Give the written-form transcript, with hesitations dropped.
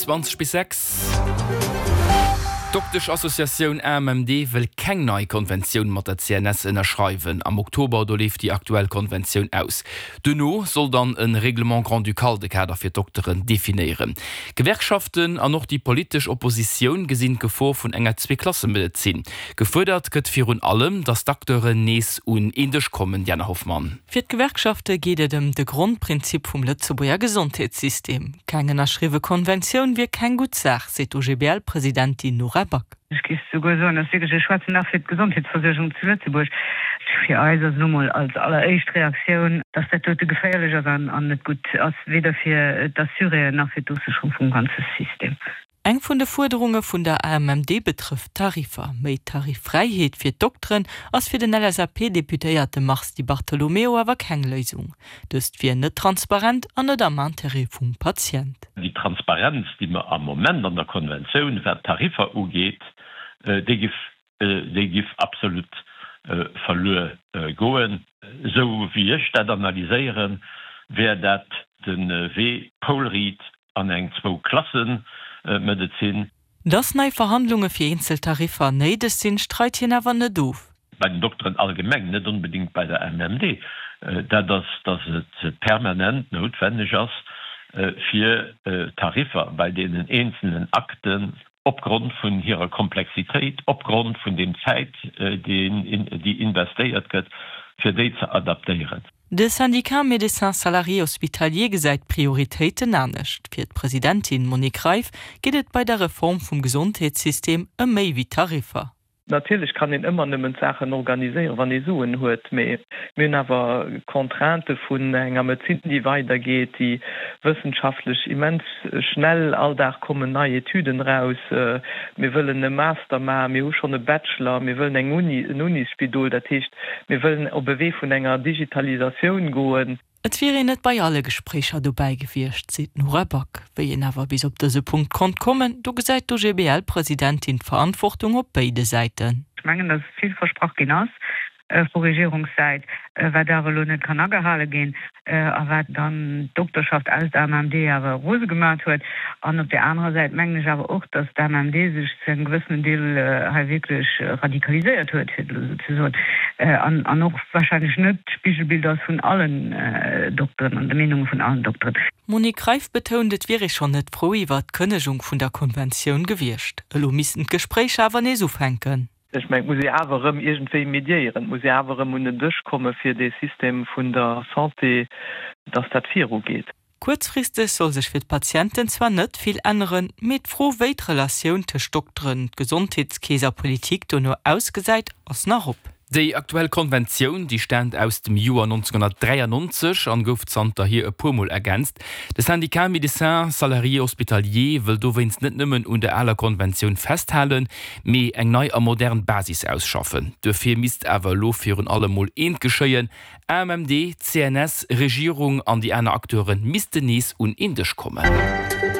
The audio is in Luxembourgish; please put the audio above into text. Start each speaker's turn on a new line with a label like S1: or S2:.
S1: 20 bis 6. D'Dokteschassociatioun AMMD wëll keng nei Konventioun mat der CNS ënnerschreiwen. Am Oktober, do leeft déi aktuell Konventioun aus. Duerno soll dann e Règlement grand-ducal de Kader fir d'Dokteren definéieren. D'Gewerkschaften an och déi politesch Oppositioun gesinn d'Gefor vun enger Zweeklassemedezin. Gefuerdert gëtt virun allem, datt d'Acteuren nees un een Dësch kommen. Diana Hoffmann.
S2: Fir d'Gewerkschafte geet et ëm de Grondprinzip vum Lëtzebuerger Gesondheetssystem. Keng ënnerschriwwe Konventioun wier keng gutt Saach, seet d'OGBL-Presidentin Nora Back.
S3: Ech géif souguer soen, dass wierklech, ech schwätzen nach fir d'Gesondheetsversuergung zu Lëtzebuerg, fir eis ass elo mol als alleréischt Reaktioun, dass dat dote geféierlech ass an net gutt ass, weder fir d'Assuréen nach fir d'Ofsécherung vum ganze System.
S2: Eng vun de Fuerderunge vun der AMMD betrëfft d'Tariffer. Méi Tariffräiheet fir d'Dokteren ass fir den LSAP-Deputéierte Mars Di Bartolomeo awer keng Léisung. Dëst wier net transparent an net am Interêt vum Patient.
S4: Déi Transparenz, déi mer am Moment an der Konventioun, wat d'Tariffer ugeet, déi giff déi giff absolut verluer goen. Esou wéi ech dat analyséieren, wär dat de Wee poulriit an eng Zwou-Klasse-Medezin.
S2: Dass nei Verhandlunge fir eenzel Tariffer néideg sinn, streit hien awer net of.
S4: Bei den Dokteren allgemeng, net onbedéngt bei der MMD, dat ass, dass et permanent noutwenneg ass, fir d'Tariffer bei deenen eenzelnen Akten opgrond vun hirer Komplexitéit, opgrond vun dem Zäit, déi investéiert gëtt, fir déi ze adaptéieren.
S2: De Syndicat Médecins Salariés Hospitaliers gesäit d'Prioritéiten anescht. Fir d'Presidentin Monique Reiff geet et bei der Reform vum Gesondheetssystem ëm méi wéi Tariffer.
S5: Natierlech kann een ëmmer nëmmen d'Saachen organiséieren, wann ee Suen huet, mee mir hunn awer Contraintë vun enger Medezin, déi weidergeet, déi wëssenschaftlech immens schnell, all Dag kommen nei Etüden eraus. Mir wëllen e Master maachen, mir hu schonn e Bachelor, mir wëllen eng Uni, en Unisspidol, dat heescht, mir wëllen op e Wee vun enger Digitalisatioun goen.
S2: Et wier een net bei alle Gespréicher dobäi gewiescht, seet d'Nora Back. Wéi een awer bis op dëse Punkt konnt kommen, do gesäit d'OGBL-Presidentin d'Verantwortung op béide Säiten.
S3: Ech mengen, datt vill versprach ginn ass vu Regierungssäit, wat awer elo net kann agehale ginn a wat dann d'Dokterschaft aus der AMMD awer rose gemaat huet. An op där anerer Säit mengen ech awer och, datt d'AMMD sech zu engem gewëssenen Deel hei wierklech radikaliséiert huet, fir et elo esou ze soen, an och wahrscheinlech net d'Spigelbild ass vun allen Dokteren an de Meenunge vun allen Dokteren.
S2: D'Monique Reiff betount, et wier ee schonn net frou iwwert d'Kënnegung vun der Konventioun gewiescht. Elo missten d'Gespréicher awer nees ufänken.
S5: Ech mengen, et muss ee awer erëm iergendwéi mediéieren, et muss ee awer erëm un den Dësch komme fir dee System vun der Santé, dass dat virugeet.
S2: Kuerzfristeg soll sech fir d'Patienten zwar net vill änneren, mee d'Fro wéi d'Relatioun tëscht Dokteren, Gesondheetskeess a Politik dono ausgesäit, ass nach op.
S1: Déi aktuell Konventioun, déi staamt aus dem Joer 1993 an gouf zanterhier e puer Mol ergänzt. De Syndicat Médecins Salariés Hospitaliers wëll dowéinst net nëmmen un der aler Konventioun festhalen, mee eng nei a modern Basis ausschaffen. Duerfir misst awer elo virun allem mol eent geschéien, AMMD, CNS, Regierung an déi aner Acteure missten nees un een Dësch kommen.